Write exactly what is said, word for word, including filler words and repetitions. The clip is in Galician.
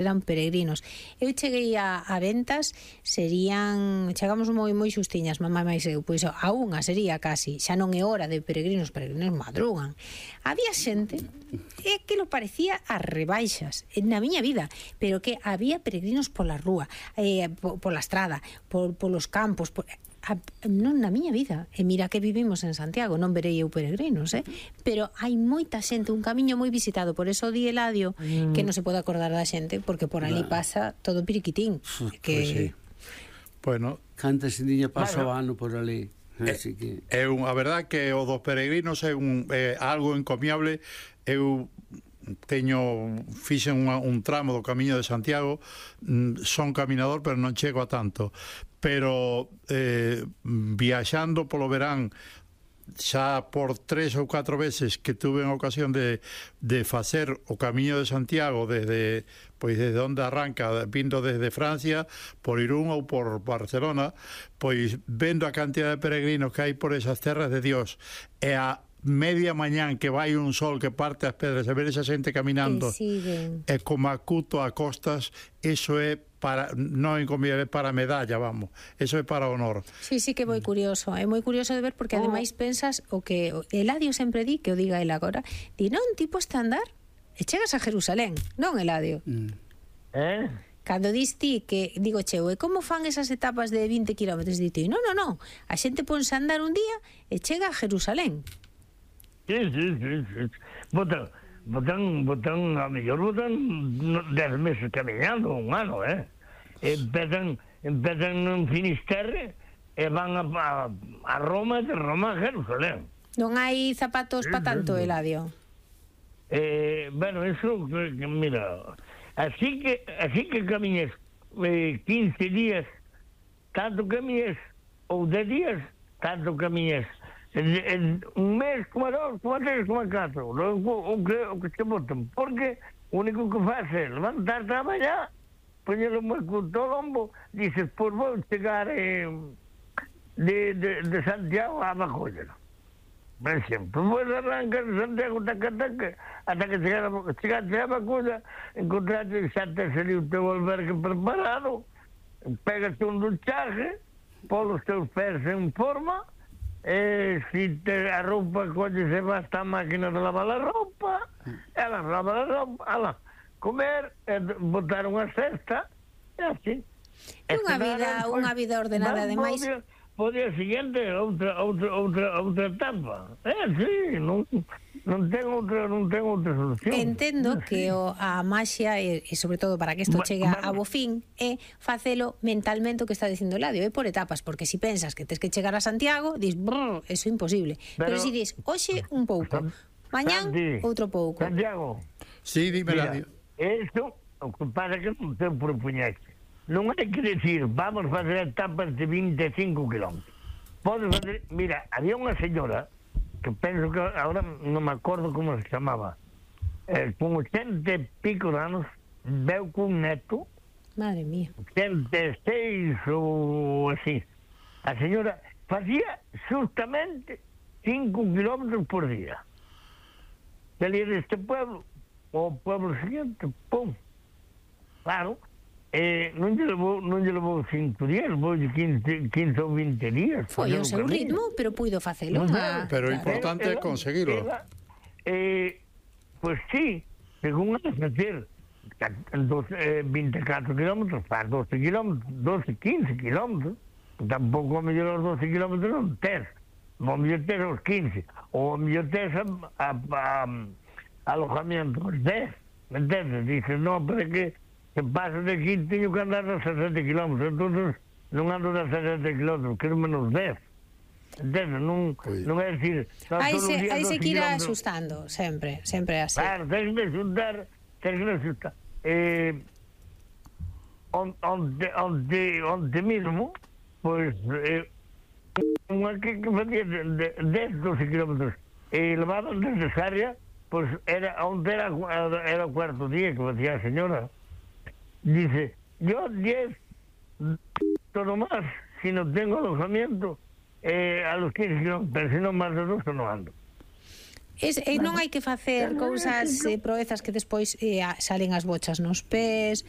eran peregrinos. Eu cheguei a, a ventas, serían, chegamos moi moi xustiñas, mamá máis eu, pois a unha sería casi, xa non é hora de peregrinos, peregrinos madrugan. Había xente, e que lo parecía a rebaixas, na miña vida, pero que había peregrinos pola rúa, eh, pola estrada, por, polos campos, por, A, non na miña vida, e mira que vivimos en Santiago, non verei eu peregrinos, eh? Pero hai moita xente, un camiño moi visitado, por eso di Eladio mm. que non se pode acordar da xente, porque por ali pasa todo piriquitín. Que... Pues sí. Bueno, canta xindiña pasa o ano por ali. Así que é un, a verdad que o dos peregrinos é un é algo encomiable. Eu teño fixen un, un tramo do Camiño de Santiago, son caminador pero non chego a tanto, pero eh, viaxando polo verán xa por tres ou catro veces que tuve a ocasión de, de facer o Camiño de Santiago desde, pois desde onde arranca, vindo desde Francia por Irún ou por Barcelona, pois vendo a cantidad de peregrinos que hai por esas terras de Dios e a media mañán que vai un sol que parte as pedras e ver esa xente caminando e como acuto a costas, eso é para, non encomiable, para medalla, vamos, eso é para honor. Sí, sí que é moi curioso, é moi curioso de ver porque ademais pensas o que Eladio sempre di, que o diga el agora, di non, ti podes andar e chegas a Jerusalén, non, Eladio? Mm. Eh? Cando dis ti que, digo, cheo, e como fan esas etapas de vinte kilómetros? Di ti, non, non, non, a xente ponse a andar un día e chega a Jerusalén. Sí, sí, sí, sí. Botan, botan, botan, a mellor botan dez meses caminando, un ano, eh? Empezan, empezan en Finisterre e van a, a, a Roma, de Roma a Jerusalén. Non hai zapatos sí, pa tanto, sí. Eladio? Eh, bueno, eso, mira, así que, así que camiñes eh, quince días, tanto camiñes, ou dez días, tanto camiñes. En, en un mes, como dos, como tres, como catro, o, o, que, o que se botan, porque o único que faz é levantar a mañá, poñer o marco do lombo, dices, pois vou chegar eh, de, de, de Santiago a Macolla, por exemplo, pois arrancar de Santiago, taca, taca, ata que chegaste a Macolla, encontraste xa te sería o teu albergue preparado, pegaste un duchaje, pon os teus pés en forma. E si te a roupa colle se basta a máquina de lavar a roupa, ela lava a roupa, ela comer, e botar unha cesta, e así. Unha vida, unha vida ordenada, ademais. Po día seguinte outra outra outra outra etapa. Eh, sí, non non ten outra non ten outra solución. Entendo que o a maxia e, e sobre todo para que isto chegue a bo fin é facelo mentalmente o que está dicindo Eladio, é por etapas, porque se si pensas que tes que chegar a Santiago, dis, brr, eso é imposible. Pero, Pero se si dis, hoxe un pouco, mañán outro pouco. Santiago. Sí, dime, Eladio. Isto, o que pasa que non te propoñaste. Non hai que decir, vamos facer etapas de vinte e cinco kilómetros. Podes fazer, mira, había unha señora que penso que ahora non me acordo como se chamaba, eh, con ochenta e pico de anos, veu cun neto, madre mía, ochenta e seis ou así. A señora facía justamente cinco kilómetros por día. Salía deste pueblo ao pueblo siguiente, pum. Claro. Eh, non lle levou, non lle levou cinco días, levou quince, quince ou vinte días. Foi o seu ritmo, pero puido facelo. Ah, pero o importante é conseguirlo. Eh, pois pues sí, según a facer vinte e catro kilómetros, faz doce kilómetros, doce, quince kilómetros, tampouco a mellor os doce kilómetros non tes, o mellor tes os quince, ou a mellor tes a, a, a, a alojamiento os dez, me entendes? Dices, non, pero que que paso de aquí teño que andar a sesenta kilómetros, entón non ando a sesenta kilómetros, quero menos dez. Entendo, non, non é dicir... Aí se, aí se que ir asustando, sempre, sempre así. Claro, tens que asustar, tens que asustar. Eh, onde, onde, onde mesmo, pois, eh, unha que, que facía dez, doce kilómetros, e levaban desde Sarria, pois era, onde era, era o cuarto día que facía a señora. Dice, yo diez, todo más, si no tengo alojamiento, eh, a los quince kilómetros, pero si no más de dos, no ando. Es, e non hai que facer cousas, eh, proezas que despois eh, salen as bochas nos pés,